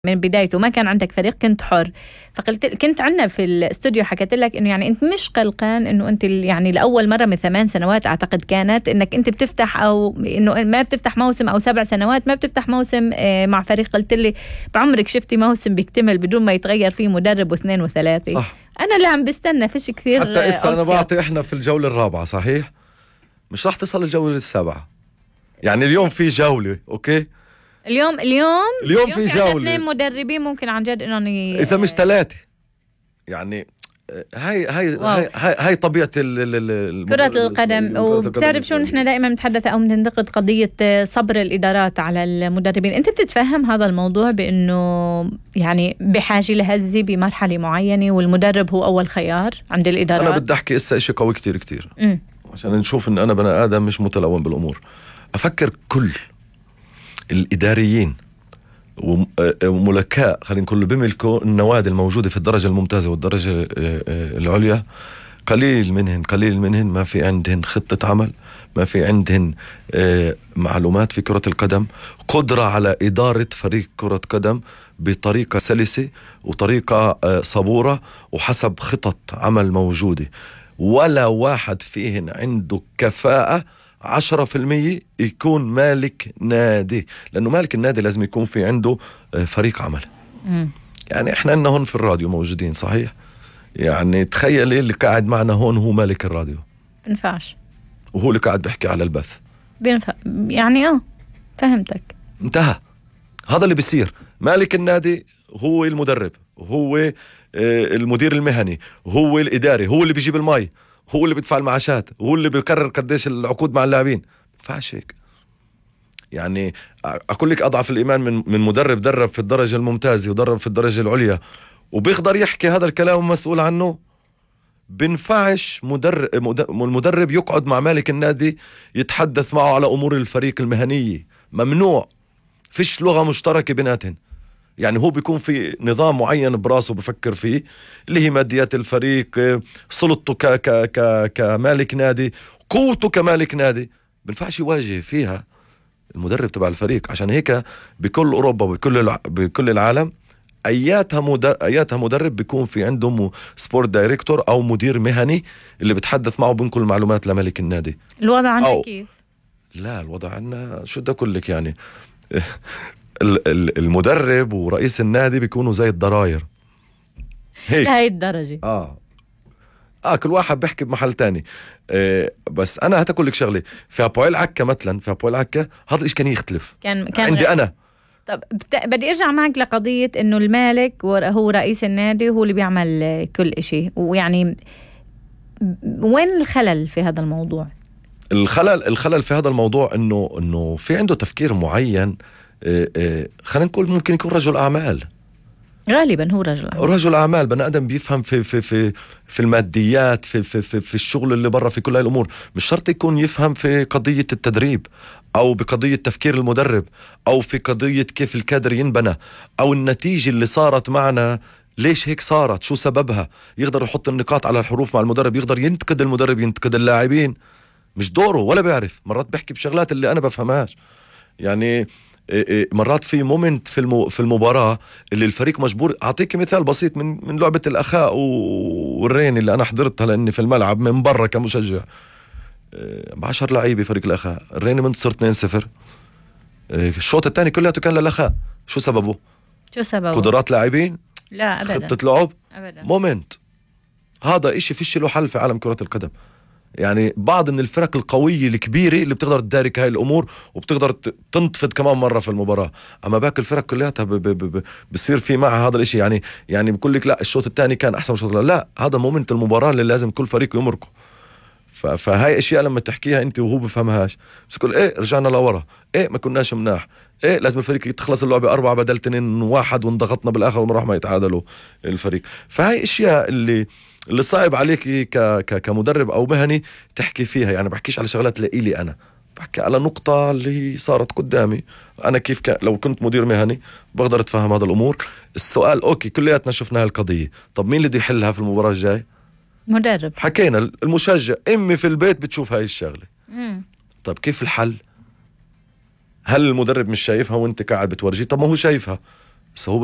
من بدايته ما كان عندك فريق، كنت حر. كنت عندنا في الاستوديو حكيت لك انه يعني انت مش قلقان انه انت يعني لاول مره من 8 سنوات اعتقد كانت انك انت بتفتح، او انه ما بتفتح موسم، او 7 سنوات ما بتفتح موسم مع فريق. قلت لي بعمرك شفتي موسم بيكتمل بدون ما يتغير فيه مدرب واثنين وثلاثه؟ صح. انا اللي عم بستنى فيش كثير. حتى إسا أنا بعطي إحنا في الجولة الرابعة صحيح، مش راح تصل الجولة السابعة. يعني اليوم في جولة أوكي، اليوم في جولة 2 مدربين ممكن عن جد انهم إذا مش 3. يعني هاي طبيعة كرة القدم. وبتعرف شو نحن دائما نتحدث او بننتقد قضية صبر الإدارات على المدربين. انت بتتفهم هذا الموضوع بانه يعني بحاجة لهزة بمرحلة معينة والمدرب هو اول خيار عند الإدارات؟ انا بدي احكي إسا اشي قوي كتير عشان نشوف ان انا بني ادم مش متلون بالامور. افكر كل الاداريين وملكاء خلينا نقول بيملكوا النوادي الموجودة في الدرجة الممتازة والدرجة العليا، قليل منهن ما في عندهن خطة عمل، ما في عندهن معلومات في كرة القدم، قدرة على إدارة فريق كرة قدم بطريقة سلسة وطريقة صبورة وحسب خطط عمل موجودة. ولا واحد فيهن عنده كفاءة 10% يكون مالك نادي، لأنه مالك النادي لازم يكون في عنده فريق عمل. يعني إحنا عندنا هون في الراديو موجودين صحيح، يعني تخيلي اللي قاعد معنا هون هو مالك الراديو، بنفعش، وهو اللي قاعد بيحكي على البث بينفع. يعني فهمتك، انتهى. هذا اللي بيصير. مالك النادي هو المدرب، هو المدير المهني، هو الإداري، هو اللي بيجيب الماي، هو اللي بيدفع المعاشات، هو اللي بيقرر قديش العقود مع اللاعبين. فاش هيك. يعني أقول لك أضعف الإيمان من مدرب درب في الدرجة الممتازة ودرب في الدرجة العليا وبيقدر يحكي هذا الكلام مسؤول عنه. بنفعش المدرب يقعد مع مالك النادي يتحدث معه على أمور الفريق المهنية، ممنوع. فيش لغة مشتركة بيناتهم. يعني هو بيكون في نظام معين براسه بفكر فيه اللي هي ماديات الفريق، سلطته كمالك نادي، قوته كمالك نادي، بنفعش يواجه فيها المدرب تبع الفريق. عشان هيك بكل أوروبا بكل العالم اياتها مدرب بيكون في عندهم سبورت دايركتور او مدير مهني اللي بتحدث معه بنقل المعلومات لملك النادي. الوضع عندنا كيف؟ لا، الوضع عندنا شو بدي اقول لك، يعني المدرب ورئيس النادي بيكونوا زي الضراير هيك لهي الدرجة. كل واحد بيحكي بمحل تاني. بس انا هتقول لك شغله، في أبويل عكا مثلا، في أبويل عكا هذا الاشي كان يختلف. كان عندي انا. طب بدي ارجع معك لقضية انه المالك هو رئيس النادي وهو اللي بيعمل كل اشي، ويعني وين الخلل في هذا الموضوع؟ الخلل في هذا الموضوع انه في عنده تفكير معين. خلينا نقول ممكن يكون رجل اعمال، غالبا هو رجل اعمال، بني ادم بيفهم في الماديات، في الشغل اللي برا، في كل هاي الامور. مش شرط يكون يفهم في قضية التدريب او بقضية تفكير المدرب او في قضية كيف الكادر ينبنى او النتيجة اللي صارت معنا ليش هيك صارت، شو سببها. يقدر يحط النقاط على الحروف مع المدرب، يقدر ينتقد المدرب، ينتقد اللاعبين. مش دوره ولا بيعرف. مرات بحكي بشغلات اللي انا بفهمهاش. يعني مرات في مومنت في المباراة اللي الفريق مجبور. أعطيك مثال بسيط من لعبة الأخاء والرين اللي أنا حضرتها لأني في الملعب من برا كمشجع. 10 لعيبة فريق الأخاء، الرين منتصر 2-0. الشوط الثاني كلياته كان للأخاء. شو سببه؟ قدرات لاعبين؟ لا أبدا. خطة لعب؟ أبدا. مومنت. هذا إشي فيش له حل في عالم كرة القدم. يعني بعض من الفرق القوية الكبيرة اللي بتقدر تدارك هاي الأمور وبتقدر تنتفض كمان مرة في المباراة. أما باقي الفرق كلها بصير في معها هذا الاشي. يعني بقول لك لا الشوط الثاني كان أحسن شوط، لا هذا مومنت المباراة اللي لازم كل فريق يمرقه. فهاي أشياء لما تحكيها أنت وهو بفهمهاش، بس تقول إيه رجعنا لورا، إيه ما كناش مناح، إيه لازم الفريق تخلص اللعبة 4 بدل 2-1 وانضغطنا بالآخر ونروح ما يتعادلوا الفريق. فهاي أشياء اللي صعب عليك كمدرب أو مهني تحكي فيها. يعني بحكيش على شغلات لإلي أنا، بحكي على نقطة اللي صارت قدامي أنا. كيف لو كنت مدير مهني بقدر أتفهم هذا الأمور. السؤال أوكي كلياتنا شفنا هالقضية، طب مين اللي بده يحلها في المباراة الجاي؟ مدرب. حكينا المشجع، أمي في البيت بتشوف هاي الشغلة. طب كيف الحل؟ هل المدرب مش شايفها وانت قاعد بتورجيه؟ طب ما هو شايفها. بس هو